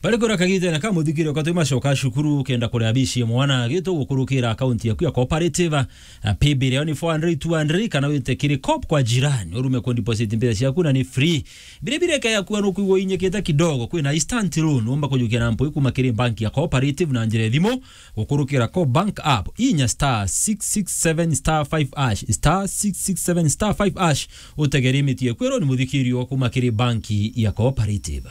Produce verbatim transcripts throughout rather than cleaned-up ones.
Bari kura kagitene ka muthikiri kwa tuma coka cukuru kenda kuria bici mwana gitu gukurukira account yaku ya cooperative. A, paybill yao ni four hundred, two hundred, kana wite kiri coop kwa jirani, urume ku deposit mbeca ciaku na ni free. Bire bire kaya kuwa nukwigwa inyekete kidogo, kwina instant loan, umba kujukia na mpoi kuma kiri bank ya cooperative na njira ya thimu, gukurukira co bank app, inya star six six seven star five hash, star six six seven star five hash, utegere imiti ekwirwo ni muthikirio kuma kiri banki ya cooperative.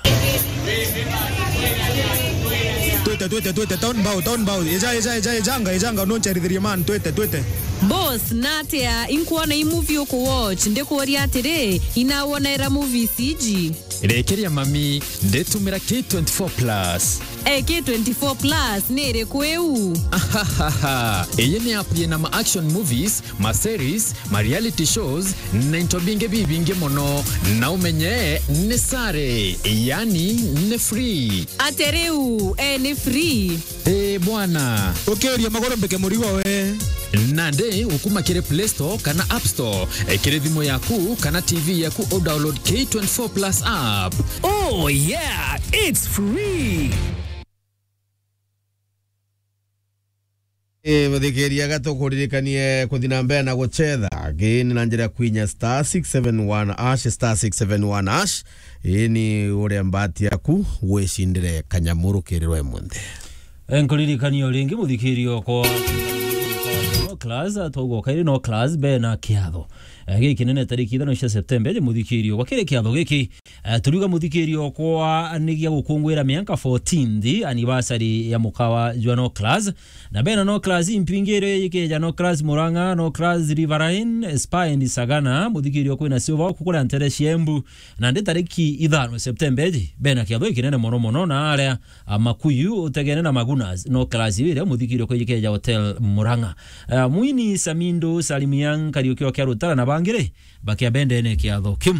Twite, twite, twite, town bow, town bow. Eja, eja, eja, ejanga, ejanga, noncherithirie man, twite, twite. Boss, natia, inkuona i movie uku watch, ndikuuria atiri, inawonera movies iji? Rekeria mami, nditumira K twenty-four plus. Eh, K twenty-four plus ni iriku iu? Ahahaha. Iyi ni app yina ma action movies, ma series, ma reality shows, na into bingi bibingi mono. Na umenye ni sare, yani ni free. Ate riu, eh, ni free? Eh, bwana. Ukiuria maguru mbike murigo we. Nandi ukuma kiri Play Store kana App Store, eh, kiri thimu yaku kana T V yaku, u download K twenty-four plus app. Oh yeah, it's free. Eh, muthikiria, ga tukuririkanie kuthi na mbere na gucetha. Gini na njira ya kwinya star six seven one hash, star six seven one hash. Ii ni uria mbati yaku wicindire kanyamuru kirirwe munthe. Eh, nkuririkania o ringi muthikirio kwa no class, atauga kairi no class be na kiatho. Eh, gikinene tariki ithano cia Septemba, je muthikirio kwa kiri kiatho giki. Eh, turiuga muthikirio kwa ni gia gukungwira mianka fourteenth anniversary ya mukawa jwa no class. Na bena no class impingire yikeja no class Murang'a, no class Riverine, Spa and Sagana, muthikirio kwina Silver Oak kukuria ntere cia Embu. Na ndi tariki ithano Septemba eji, bena kiatho ikinene mono mono na aria, a, Makuyu utegene na Magunas, no class iria muthikirio kwijikeja Hotel Murang'a. A, Mwini Samindo, Salim Young, Kariuki wa Kiarutara na bangire, bakia bendene kiatho kiu.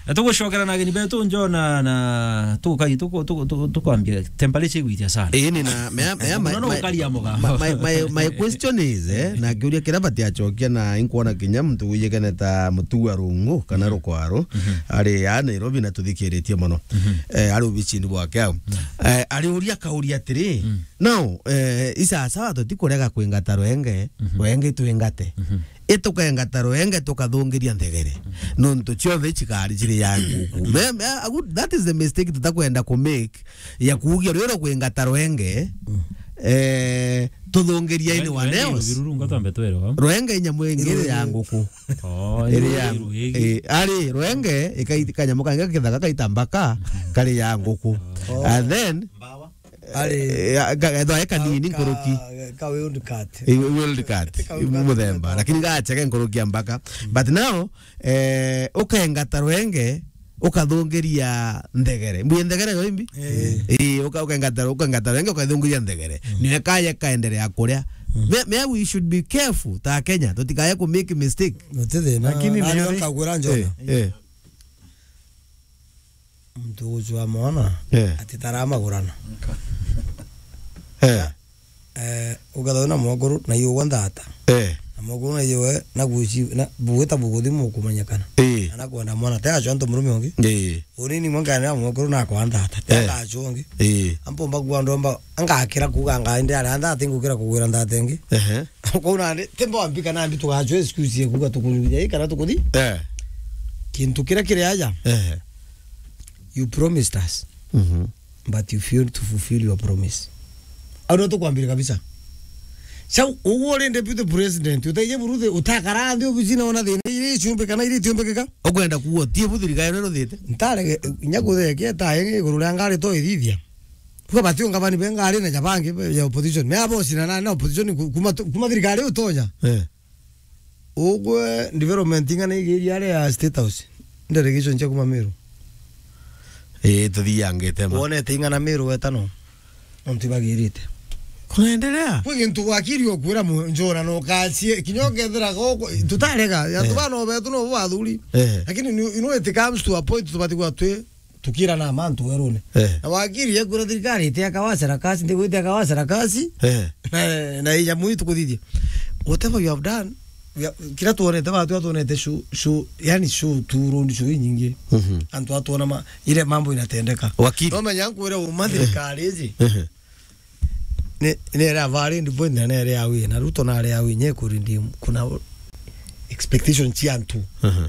E, tugucokera na ageni betu Njona na tukai tuku-, tuku-, tuku-, tukwambia temperature igwitia sana. Ii ni na mea, mea, my, Muno no my, ukaria muga. My, my, my, my question is, eh, na kiuria kiria batiacokia na inkuona kinya muntu wijikene ta mutu wa rungu kana rukwaro, ari ya Nairobi na tuthikiritie mono. Eh, ari obicini bwake au. Eh, ari uria kauria atiri, now, eh, isasawa tutikurega kwingata rwenge, rwenge twingate. Itukengata rwenge tukathungiria nthegere. Nontu cionthe cikari ciri ya nguku. Me, me, agu-, that is the mistake tutakwenda ku make, ya kuugia rwiro kwingata rwenge, eh, tuthungiria anyone else. Rwenge inya mwingire ya nguku. Oh, iri ya, eh, ari rwenge, ikai-, kanyamu kangi kithaka kaita mbaka, kari ya nguku. And then, Ari, eh, ga-, ethwa e kanini nkuruki. Ka wildcat. Eh, wildcat. Ka wildcat muthemba, lakini gachege nkuruki ya mbaka. But now, eh, ukengata rwenge, ukathungiria nthegere. Mbuye nthegere yo imbi? Eh. Eh, uka-, ukengata, ukengata rwenge, ukathungiria nthegere. Niwe kaye kaendelea kuria. Me, me, we should be careful ta Kenya. Tutikaye ku make mistake. Gutithina. Lakini nani ni ukagwira Njona? Eh, eh. Muntu ugucua mwana, eh, atitaraa magurana. Eh. Eh, ugathauna mwakuru na iugwa nthata. Eh. Na mwakuru na iugwe na guci-, na bugwita buguthi mukumanyakana. Eh. Na nakwenda mwana, te acwa antu murume ungi. Eh. Unini mwe nganira mwakuru nakwa nthata, te, eh, acwa ungi. Eh. Ampomba kuwa ndomba, angakira kuga ngaende aria nthata, ingukira kugwira nthata ingi. Ehe. Kou nandi, ti mbombi kana mbi tugacwa excuse ya kuga tukururia ii kana tukuthi. Eh. Kintu kiria kiri aja. Eh. You promised us, mhm, but you failed to fulfill your promise. Au no tukwambire kabisa. Sau, uguo uri deputy president, utaije buruthi, utakara nthi obicine ona thina iri iciumbi kana iri itiumbikika? Ukwenda kuuga utie bu thirikari ino ruthite? Ntarege, inya kuthekia tae iguru ria ngari to ithithia. Kwa bati ungabani be ngari na jabangi be ya opposition. Me abo sina na, na opposition ku-, kuma tu-, kuma thirikari utonya. Eh. Ugwe development ing'ana igiria aria ya State House. Delegation cia kuma Meru. Eh, tuthiangite ma. Wonete ing'ana Meru wetano. Nontu ibagirite. Kunaendelea? Kwi gintu wakiri okwira mu-, Njona no kacie, kinya ukethira goko, tutarega, ya, eh, tubana obetu no bathuri. Eh. Lakini ni, you know, it comes to a point tubati kwa twi tukira na mantu werune. Eh. Na wakiri ekwira thirikari ite akawa sarakasi, ndigwite akawa sarakasi. Eh. Na, na ijamu itukuthithia. Whatever you have done, Ya, kira twonete, batu atwonete show, show, yani show tu, road show inyingi. Mhm. Antu atwona ma, ile mambo inatendeka. Wakili. No menya nkwire uma thirikari iji. Mhm. Ni, ni ere a valid point na ni ere a wi, na Ruto na ere a wi nye kuri ndi kuna expectation cia antu. Mhm.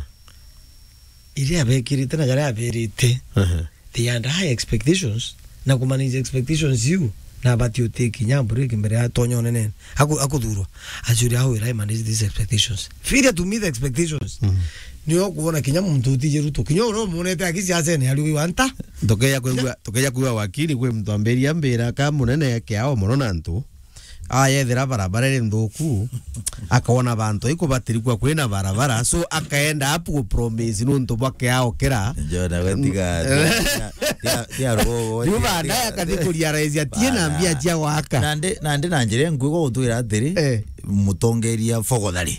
Iria abekirite na jaria aberite. Mhm. They had high expectations, na ku manage expectations iu, na abati uti kinya break mbere ya tonya unenene. Aku-, akuthurwa. Actually, how will I manage these expectations? Failure to meet expectations. Mhm. Nio kuona kinya muntu utije Ruto. Kinya uria umonete aki siasene, ari wi wanta. Tukeja kwigua, tukeja kwigua wakili kwi muntu ambiria mbira ka munene kiao mono na antu. Ayethira barabara iri nthuku, akona bantu ikubatirikwa kwina barabara, so akaenda apu gupromise nuntu bwa kiao kira. Jona, we tiga, tiga, tiga, tiga rugo, riu tiga, baadaye tiga, akathi kurealize atie na mbia cia gwaka. Nandi, nandi na njira inkuigwa gutwira atiri, eh, mutongeria fogothari.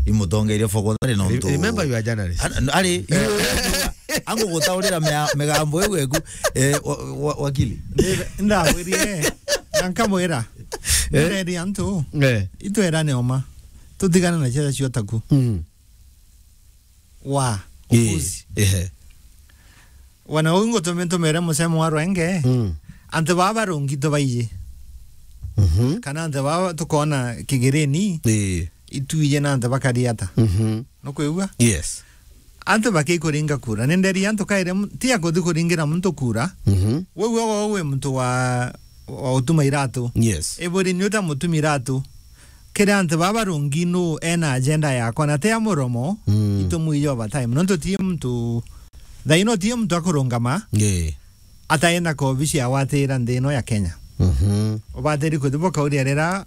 Imutongeria fogothari nontu. Re-, remember you are journalist. An-, an-, ari, eh, angugutaurira mea-, migambo iu eku, eh, wa-, wa-, wakili. Ndawiririe, na nkamwira, eh, nderi antu, eh, itwera ni oma. Tutigane na ciaca cio taku. Mm. Wa, eh, ukuzi. Ehe. Wana uu ngutumi ntumire musemo wa rwenge. Mm. Antu baba barungi tubaiji. Mhm. Kana antu baba tukona kigireni. Eh. Ituije na antu bakari ata. Mhm. Nukwigua? Yes. Antu bakikuringa kura. Ni nderi antu kaire mu-, ti akuthi kuringira muntu kura. Mhm. Wewe, wewe wi muntu wa, wa utuma iratu. Yes. Iburi ni uta mutumi iratu. Kiri antu baba rungi nu ena agenda yakwa na ti ya muromo, mm, itumwije over time. Nontu ti muntu, thaino ti muntu akurungama, yeah, ataina ka obici ya gwatira nthi ino ya Kenya. Mhm. Ubatiri kuthi bukauria rira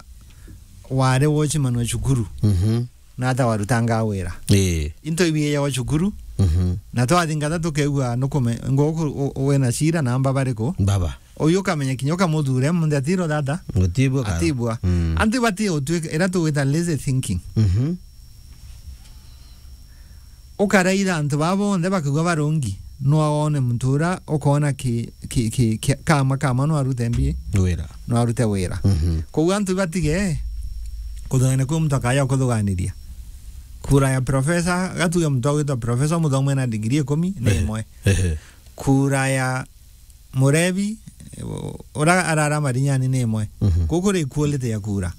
wari watchman wa cukuru. Mhm. Na ata warutanga wira. Ii. Into ibiejagwa cukuru. Mhm. Na twathingata tukeigua nukume, ngo-, ku-, u-, wina cira na amba bariku. Baba. Uyu ukamenya kinya ukamuthure, muntu atiro thata. Gutibua kara. Atibua. Mm. Antu bati utwika, ira tugwita lazy thinking. Mhm. Ukaraitha antu baa bonthe bakigua barungi, no wone muntu ura ukona ki, ki, ki, ki, kama, kama no arute mbi. Wira. No arute wira. Mhm. Koguo antu batige kuthugania kwi muntu akaja kuthuganiria. Kura ya professor, gatuge muntu agwitwa professor, muthomu ena degree ikumi, ni, ehe, imwe. Ehe. Kura ya murebi, ura arara marinyani ni imwe. Mhm. Kuu kuri equality ya kura.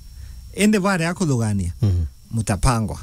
Indi baria kuthugania, mhm, mutapangwa.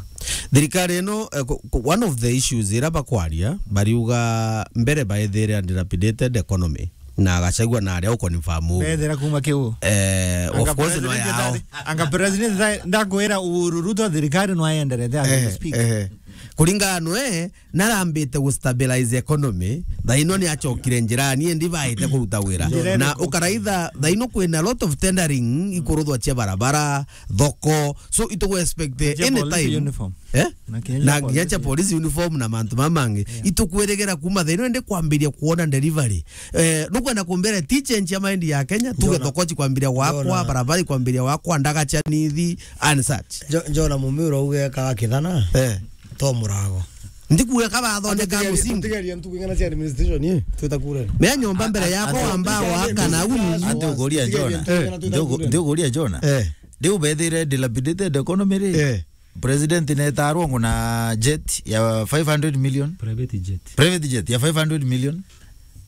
Thirikari ino, eh, ku-, ku-, one of the issues ira bakwaria, bariuga mbere baethire a dilapidated economy. Na Gachagua na aria ukonfirm uguo. Bethira kuma kiu. Eh, of course no president yao. Anga president ndakwira Uhuru Ruto thirikari no aenderete as we speak. Eh, eh. Kuringana nwe, narambite gu stabilize economy, thaino ni achokire njirani, indi baite kuruta wira. Njira iriku? Na ukaraitha, thaino kwina a lot of tendering, ikuruthwa cia barabara, thoko. So, itugu expect any time. Uniform. Eh? Na kinya cia polisi uniform na mantu mamangi. Yeah. Itukwirigera kuma thaino indi kwambiria kuona delivery. Eh, nukwenda kumbere ti change ya mind ya Kenya, tuge thoko cikwambiria gwakwa, barabara ikwambiria gwakwa, ndaga cia nithi, and such. Njo-, Njona Mumiro ugekaga kithana. Eh. To murago. Ndikuga kabathondeka musingi. Tugeria ntuku ing'ana cia administration, ii, twita kurani. Mea nyomba mbere yakwa wamba gwaka na uu. Antu ukuria Njona. Ntuku ing'ana twita kurani. Ntuku ukuria Njona. Eh. Riu bethire dilapidated economy ri? Eh. President netarwo nguna jet ya five hundred million. Private jet. Private jet ya five hundred million.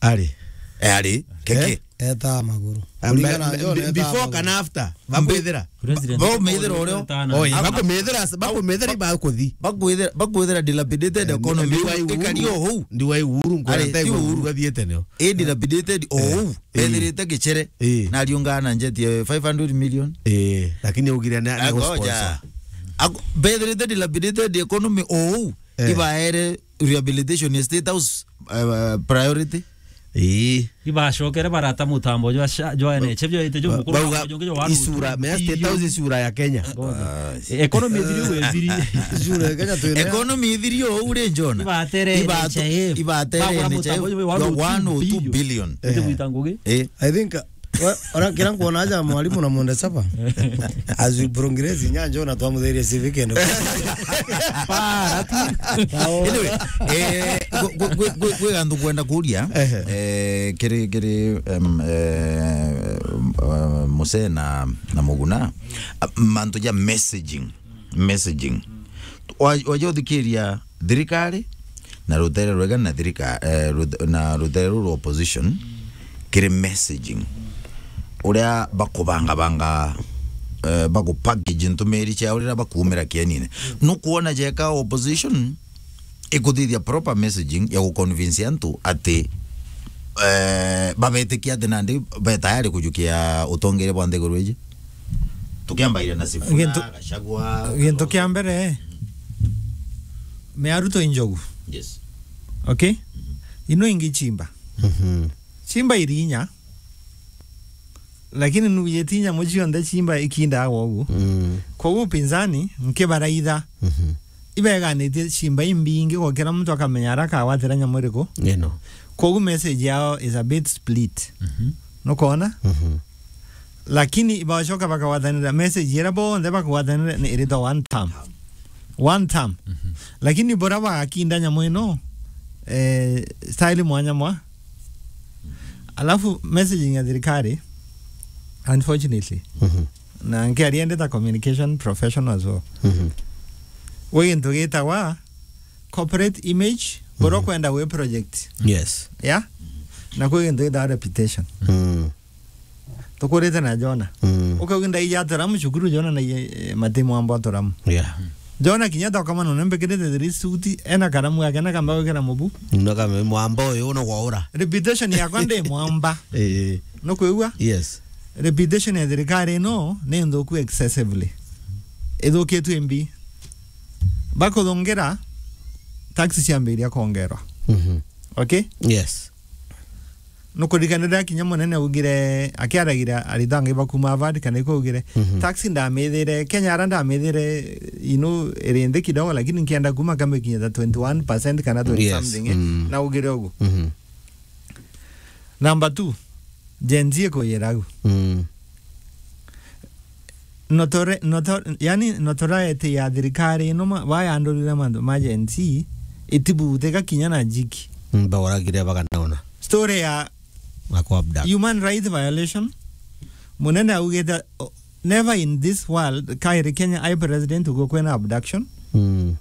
Ari. Eh, ari. Keke. Eh? Eta maguru. Kuringana na John, eta before maguru kana after? Bakwithira? President. Bo mithira urio. Oi, bakumithira, bakumithira ibakuthi. Bakwithira, bakwithira dilapidated economy. Ikari o huu. Ndiwa Uhuru, nkora. Ari, ti Uhuru. Uhuru athiete nio. Ii dilapidated o huu. Eh. Ethirite gicere. Eh. Na ariungana na jet ya five hundred million. Eh, lakini augire ni, ni sponsor. Bethirite dilapidated economy o huu. Eh. Ibaere rehabilitation ya State House, eh, priority. Ii. Ibacokere barata mutambo jwa sha-, jwa N H F, jwa ite jwa mukuru, bauga mutambo jongi jwa waru isura, mea State House isura ya Kenya. Economy ithiri we ithiri. Isura ya Kenya twina. Economy ithiri o uri Njona. Ibatere N H I F. Ibatere N H I F. Bagura mutambo jwa one oh two billion. Ite gwita ngugi. Eh. I think Wa-, ora kira nkwona aja mwalimu na mwende saba. As we progress, nyanjo na twamuthiria civic and Para tu. Anyway, eh, gwe, gwe, gwe, gwe gantu kwenda kuria, ehe, eh, kiri, kiri, em, eh, eh, Musee na, na Muguna, a, mantu ja messaging. messaging. Wa-, waja uthikiria thirikari na rutere rwega na thirika-, eh, ruthe-, na rutere ruru rwa opposition kiri messaging. Uria bakubangabanga, eh, bagupackage ntumiri ciao riria bakuumira kienine. Nukwona jeka opposition ikuthithia proper messaging ya guconvince antu ati, eh, babetikia ati nandi be tayari kujukia utongeria bwa nthiguru iji. Tukiambaira na Sifuna, Gintu-, Gachagua, gintu kia mbere, miaruto injogu. Yes. Okay? Ino ingi chimba. Mhm. Chimba irinya. Lakini nuuyiti nyamu cionthe ciimba ikindaga uguo. Mm. Koguo upinzani nkibaraitha. Mhm. Ibeganitie ciimba imbingi gukira muntu akamenya ara akagwatira nyamu iriku. Ino. Koguo message yao is a bit split. Mhm. Nukwona? Mhm. Lakini ibacoka bakagwatanira message iria bonthe bakagwatanira ni iritwa one term. One term. Mhm. Lakini bora bagakinda nyamu ino, eh, style mwanya mwa. Alafu messaging ya thirikari, unfortunately, Mhm. na nkiaria ndi ta communication professional as well. Mhm. Gwi gintu gitagwa corporate image, bora Mhm. ukwenda gwi project. Yes. Yeah? Na kwi gintu gitagwa reputation. Mm. Tukurite na Jona. Mm. Ukauga ndaija Aturamu cukuru Jona na, eh, mati mwamba Aturamu. Yeah. Jona kinya tokamana na mbikirite three suit, ena karamu yake na kamba gwikira mubu. Na kame mwamba uyu no gwaura. Reputation yakwa ndi mwamba. Eh. Nukwigua? Yes. Reputation ya thirikari ino ni nthuku excessively. Ithukitue mbi. Bakuthungira taxi ciambiria kuongerwa. Mhm. Okay? Yes. Nukurikanira kinya munene augire, akiaragira aritwa angi bakuma Harvard kana iko augire, Mhm. taxi ndamithire, Kenya ara ndamithire, you know, iri nthi kidogo, lakini nkienda kuma kambe kinya ta twenty one percent kana twenty Yes. something, eh, Mm. na augire ugu. Mhm. Number two, Gen Z ikuyira agu. Mm. Notore-, noto-, yani notoriety ya thirikari ino ma-, bayandurire mantu ma Gen Z, itibuthika kinya na jiki. Mm, bauragire bakanaona. Story ya Ako abduct. Human rights violation. Munene augite, o-, never in this world, kairi Kenya ai president uguo kwina abduction. Mm.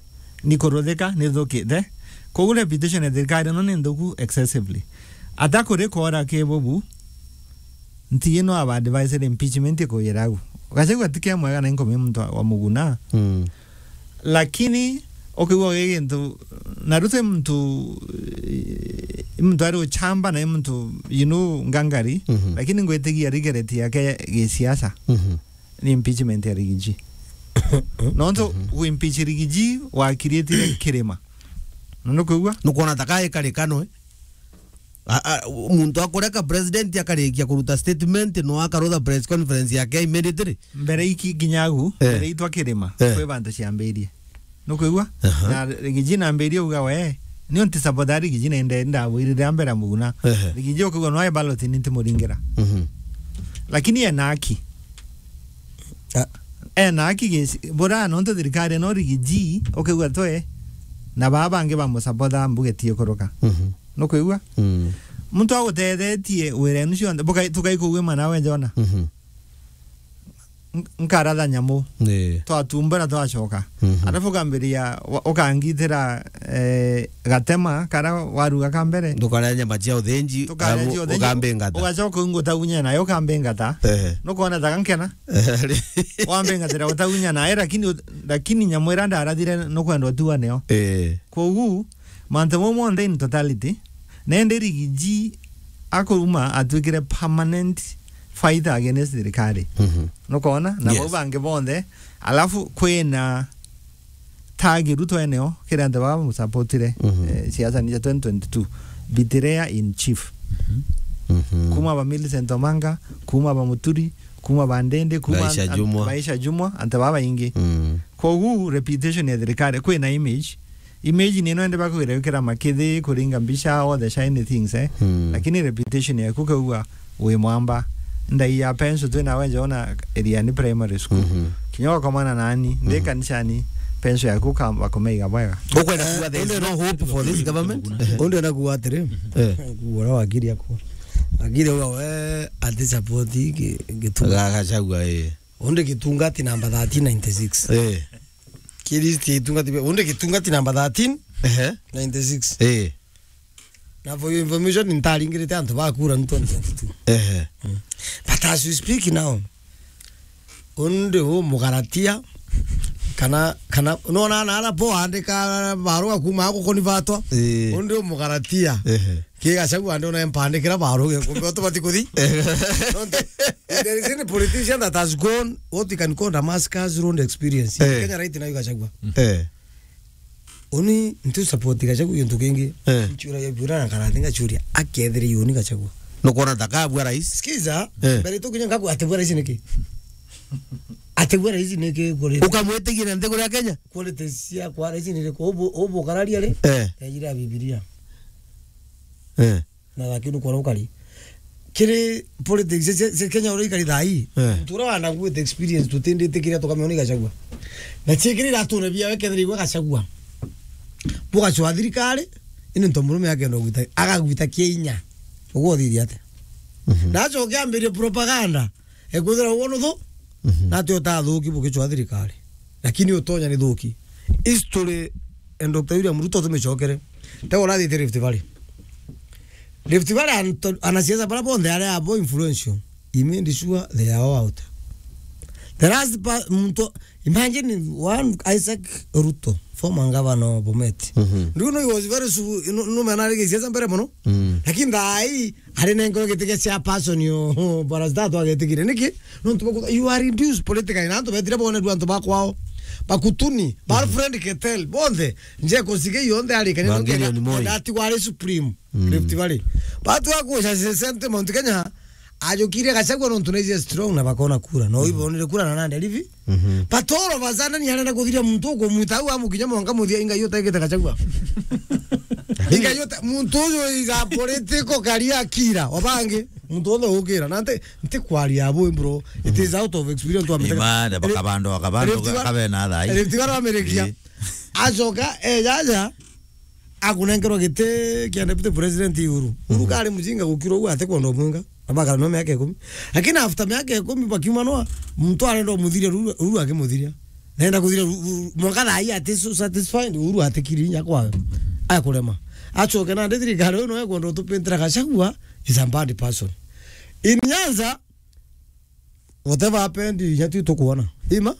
Ni kuruthika, ni thukite. Koguo reputation ya thirikari ino ni nthuku excessively. Ata kuri kwora ki bubu, nti ino aba advised impeachment ikuyira agu. Gachagua ti kia mwega na inkumia muntu wa, wa muguna. Mm. Lakini, ukigua gi gintu, na ruti muntu, eh, muntu ari uchamba na muntu, you know, ngangari, Mhm. lakini ngwitigia regret yake gisiasa. Mhm. Ni impeachment ya Rigiji. Nontu Mhm. gu impeach Rigiji wakirietire kirima. Na nukwigua? Nukwona ta kai karikano, eh? A, a, muntu akureka president akarikia kuruta statement, no akarutha press conference yake immediately. Mbere iki nginya agu, Eh. mbere itwa kirima, Eh. kwi bantu ciambirie. Nukwigua? Aha. Na Rigiji nambirie uga we, ni unti support ya Rigiji na inde ndabwirire ambera muguna. Ehe. Rigiji ukigua no ai ballot ni ntimuringira. Mhm. Lakini ena haki. Ah. Ena haki gisi, bora nontu thirikari no Rigiji, ukigua twe, na baba bangi bamusapota mbuge tie kuruka. Mhm. Nukwigua? Mm. Muntu agutethetie wira enu cionthe, bukai-, tukaikugue mana we Jona. Mhm. N-, nkaratha nyamu. Ii. Twatumbura twacoka. Mhm. Alafu ukambiria, wa-, ukangitira, eh, gatema, kara waruga ka mbere. Ndukaria nyama cia uthinji, Tukaria alafu cia uthinji, ukambingata. Ugacoka ungutagunya nayo ukambingata. Ehe. Nukwona ta gankena? Wambingatira utagunya nayo, lakini ut-, lakini nyamu ira ndarathire nukwenda utua nayo. Ii. Kogu, mantu mau monthe in totality, nende Rigiji akuruma atwikire permanent fighter against thirikari. Mhm. Nukona? Na Yes. bau bangi bonthe, alafu kwina tagiru tweneo, kiri antu baba bamusapotire, Mhm. eh, siasa ni cia twenty twenty-two. Betrayal in chief. Mhm. Kuma ba Millicent Omanga, kuma ba Muturi, kuma ba Ndindi, kuma Baisha an-, Jumwa. Baisha Jumwa, antu baba baingi. Mm. Kogu reputation ya thirikari, kwina image, image ni ino indi bakwira wikira makithi, kuringa mbica, all the shiny things, eh. Hmm. Lakini reputation yaku kaugwa wi mwamba, ndai ya penso twi nawe nja ona Iriani Primary School. Mhm. Kinya wakomana nani, ndi Mhm. kanisani, penso yaku kamba kumeiga bwega. Ukwenda kuuga there is no hope for this government? Undi anakuuga atiri, Eh. kuuga uria wakiri aku. Akiri uga we ati support gi-, Gituma. Ga-, Gachagua, eh. Undi Gitunga ati namba thirteen ninety-six. Eh. Ki list ya itungati bia, undi gitungati number thirteen, Ehe. ninety-six. Eh. Na for your information, ntaringirite antu ba kura ni twenty twenty-two. Ehe. Mm. But as we speak now, undi u mugaratia, kana, kana, nona na ara po andika barua kuma ako konivatwa. Eh. Undi u mugaratia. Ehe. Ki Gachagua ndi ona mpandikira barua ge kumbe otu batikuthi. Nontu, if there is any politician that has gone, what you can call Damascus Road experience. Eh. Kenya right now Gachagua. Eh. Uni ntu support Gachagua gintu kingi. Eh. Nchura ya bura na karathi ngachuria. Akethire yoni Gachagua. Nukwona takabua rais? Sikiza, Eh. mbere tu kinya ngaku ategwa rais niki? Ategwa rais niki kuri? Ukamwitigia na nthiguru ya Kenya? Qualities cia kwa rais ni riku? Ubu, ubu kararia ri? Eh. Yajira Biblia. Eh. Na lakini ukora ukari. Kiri politics cia, cia, cia Kenya uria ikari thaa ii. Eh. Muntu uria wanaguite experience tutindite kiria tukamenya ni Gachagua. Na ciikirira atune bia wekethira igwe Gachagua. Bugacwa thirikari, ini nto murume akenda gwita, agagwita kia inya. Uguo uthithia atia? Mhm. Na acoke ambirie propaganda. Ekwithira uguo nuthu, Mhm. na ati utathuki bugicwa thirikari. Lakini utonya ni thuki. History and Doctor William Ruto tumicokere. Te urathite Rift Valley. Rift Valley anto-, anasiasa bara bonthe aria abo influential. He made sure they are all out. The last pa-, muntu, imagine one Isaac Ruto, former governor of Bomet. Mhm. Do you know he was very su-, no, no man ari gisiasa mbere muno? Mm. Lakini thaa ii, ari nengo giti kia chairperson yo, bara statu agetigire. Niki? Nontu baku-, you are reduced politically. Na antu betire bone du antu bakwao. Bakutuni, ba Mhm. Fred Ketel, bonthe. Nje kusige yonthe ari kanya Evangelion Moi. Ati wari supreme. Mm. Rift Valley. Batu akuja se-, sentiment Kenya, ajukire Gachagua nontu na ije strong na bakona kura. No Mhm. ibonire kura na Nandi River. Mhm. But all of a sudden, yarenda kuthiria muntu ukumwita au amukinya mwanka muthia inga yote gete Gachagua. Inga yote muntu uyu is a political career killer. Obange, muntu wothe ukira. Na nte, nte kwaria abo, bro. It is out of experience to Ima, nde bakabando, bakabando, Rift Valley, kabe na thai. Rift Valley America. Ii. Acoka, eh, jaja, akunenkerwa giti kia deputy president Uhuru. Uhuru Mhm. kari mujinga gukira uguo ate kwenda umwinga. Abakara no miaka ikumi. Lakini after miaka ikumi bakiumanwa, muntu arenda umuthiria Uhuru, Uhuru akimuthiria. Nenda kuthiria Uhuru, Uhuru, mwanka thaa ii ati so satisfied, Uhuru atikiri inya kwa. Akurema. Acoke na ndi thirikari uyu no ekwenda utupintira Gachagua is a bad person. In Nyanza, whatever happened, inya tu tukwona. Ima,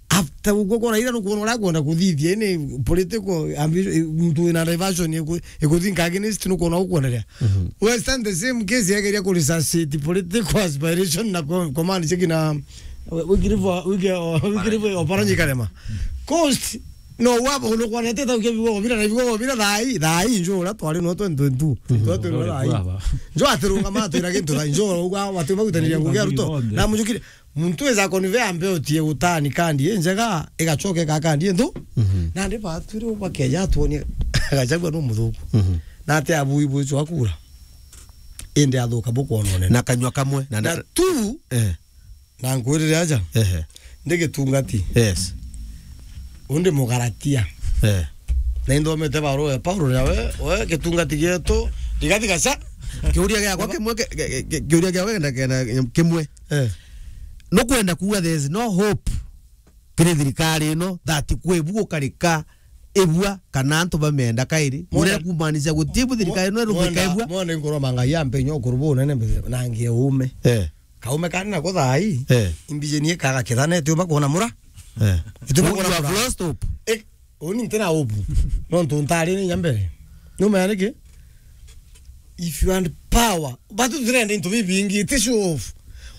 after uguo kwona ira nukwona uria kwenda kuthithia, ini political ambition, muntu wina diversion iku-, ikuthinka against nukwona ukwonerea. Mhm. Western the same case yageria ku resuscitate political aspiration na co-, command cheki na Wycliffe, Wycliffe, Wycliffe Oparanya Karema. Coast, no, waba, unukwanete tau kia bigogo bira na bigogo bira thaa ii, thaa ii njo uria twari no twenty twenty-two. Mhm. Twari twenty twenty-two thaa ii. Njo atirungama atwira gintu thaa ii, njo uga wati bagutaniria ngugi ya Ruto. Na mujukire, muntu weza convey ambe utie gutani kandi injega, igacoke ka kandi inthu. Mhm. Na ndi batwire ubakeja atwonie Gachagua no muthuku. Mhm. Na ate abui bwicu akura. Indi athuka bukwonone. Na kanyua kamwe, na Na nda- tu, Eh. Na nkwirire aja. Ehe. Ndi gitungati. Yes. Undi mugaratia. Eh. Na inthomete barua ya Paulo na we, we gitungati gietu, rigati gaca. Kiuria giakwa kimwe, ki-, ki-, ki-, kiuria giakwa kenda, kenda kimwe. Eh. Nukwenda kuuga there is no hope kiri thirikari ino that kwi bu gukarika ibua kana antu bamenda kairi? Mwana- Urenda kumaanisha guti bu thirikari ino irubika ibua? Mwana nkuromanga ya mpenyo kuru bu nene mbe-, na ngie ume. Eh. Kaume kani nako thaa ii, Eh. imbijeni ikaga kithane, itiumba kuona mura. Eh. Itiumba kuona mura. You have lost hope. Eh, uni ntina hope. Nontu ntari ni nyambere. Numenya niki? If you want power, but turenda into bibingi, iti show off.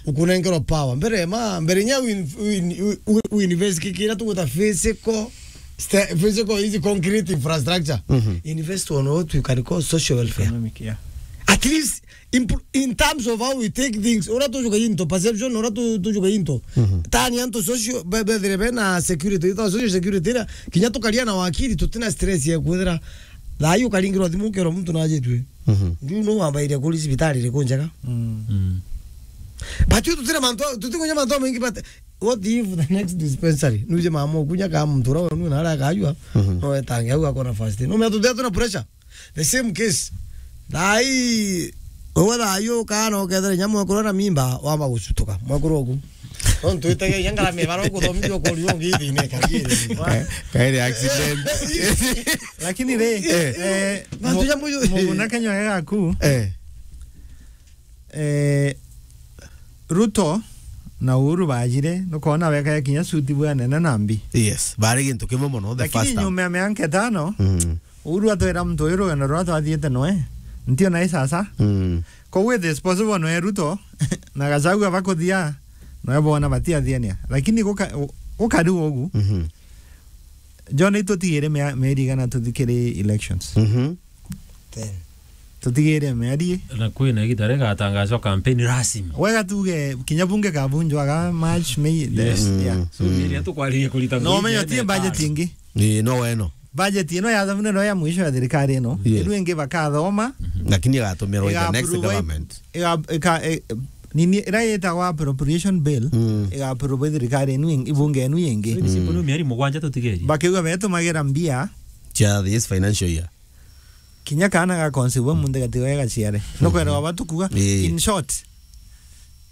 Ukunengerwa power. Mbere ma, mbere nya win, win, win, win invest kikira tuguta physical, sta-, physical is concrete infrastructure. Mhm. Invest on what you can call social welfare. Economic, yeah. At least, in, in terms of how we take things, ora tujuka into perception, ora tu-, tujuka into. Mhm. Tani antu social, be-, bethire bena security, ita social security ira, kinya tukaria na wakili, tutina stress ya kwithira. Thaa ii ukaringirwa thimu ukerwa muntu najitue. Mhm. Ndiu no wambaire kuri cibitari iriku njega. Mm. Mm. But yu tutire mantu, tutikunya mantu maingi, but what if the next dispensary? Nuje mama ukunya ka muntu ura wenu na ara akajua, Mhm. no etange au akona first. No me tutire tuna pressure. The same case. Thaa ii, wewe thaa ii ukana ukethera inya mwekuru na mimba, wamba gucutuka. Mwekuru oku. Tontu itege ya ngarame bara ukuthomithia ukuri ungi ithine kagiri. Ka-, kairi accident. Lakini ri, eh, Mantu mu-, ja muyu- Muguna Kenya gaku. Eh. Eh, Ruto na Uhuru bajire, nukona weka kinya suti bwa nene na mbi. Yes, bari gintu kimwe mono, the first time. Lakini nyuma ya miaka itano, mm, Uhuru atwira muntu uyu rugendo ruria twathiite noe, ntio nae sasa. Mm. Koguo it is possible noe Ruto na Gachagua bakuthia, noe bona batiathiania. Lakini guka-, gukari ugu, mhm, John, itutigire mia-, mieri igana tuthikiri elections. Mhm. Ten. Tutigire mieri. Na kwina igita rigatangazwa campaign rasmi. Wega tuge kinya bunge kabunjwaga March, May, the, yes, mm, yeah. So, mm, mieri ya tukwaririe kurita. No, ngugi menya ene tie budget cards ingi. Ii, no weno. Budget ino yathamune no ya mwisho ya thirikari ino. Yes. Ino ingi bakathoma. Mhm. Lakini igatumirwa in the next government. Iga-, ika-, e-, nini, ira yitagwa appropriation bill, mm, iga approve thirikari inu ing-, ibunge inu ingi. So, ni simple, mm, no mieri mugwanja tutigerie. Bakiuga betumagira mbia. Cia this financial year. Kinya kaana ga conceive muntu gatiga gaciare. No kwera waba tukuga. Ii. In short,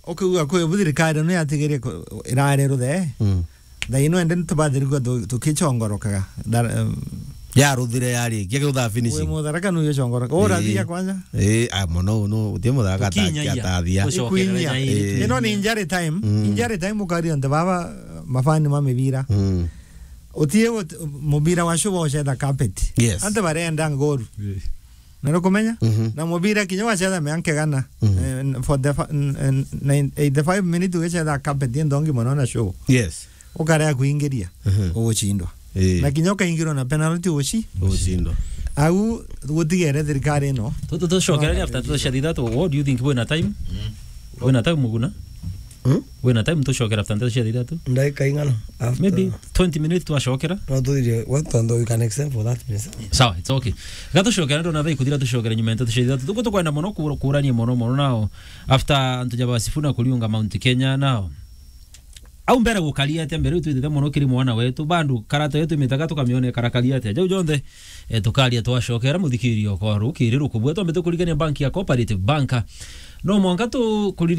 ukiuga kwi bu thirikari no yatigirie ku-, irare ruthe. Mm. Thaa ino ende nitubathirigua tu-, tukicongorokaga. Dar-, em, yaruthire yari, kia kiutha finishing. Wi mutharaka nu yocongoroka. Ura, ii, thia kwanza. Ii, a, mono, no, utie mutharaka ta-, tukinyagia, atathia. Gucokerera. Ikuinyia. Ii. Ino ni injury time. Mm. Injury time ukari onte baba, mafani ma mibira. Mm. Utie gut-, mubira wa shuba ucetha carpet. Yes. Ante barenda ngoru. Ii. Na nukumenya? Mhm. Na mubira kinya wacetha mianka igana, mhm, eh, for the fa-, n-, n-, nine-, eighty-five minutes ugicetha carpet ndongi mono na show. Yes. Ukarea kuingiria, mhm, ugucindwa. Ii. Na kinya ukaingirwa na penalty uguci-, ugucindwa. Au gutigere thirikari ino. Tu-, tu-, tucokerere after tu cia thithatu. What do you think, wina time? Mm. Wina time, Muguna? Hmm? Wina time tucokera after nteto cia thithatu? Ndagika ing'ana after? Maybe twenty minutes twacokera. No, tuthire, we, tondu we can extend for that, please. Sawa, it's okay. Ga tucokera, ndona thaa ikuthira, tucokere nyuma ya nteto cia thithatu. Tuku tukwenda mono kura-, kurania mono mono nao. After antu ja ba Sifuna kuriunga Mount Kenya nao. Au mbere gukaria atia, mbere twitite mono kiri mwana wetu, bandu karata yetu imitaga tukamiona ikarakaria atia. Jau jonthe, eh, tukaria twacokera, muthikiria okwa rukiri rukubua. Twambite kurigania bank ya Cooperative Bank. No mwanka tu-, kuri-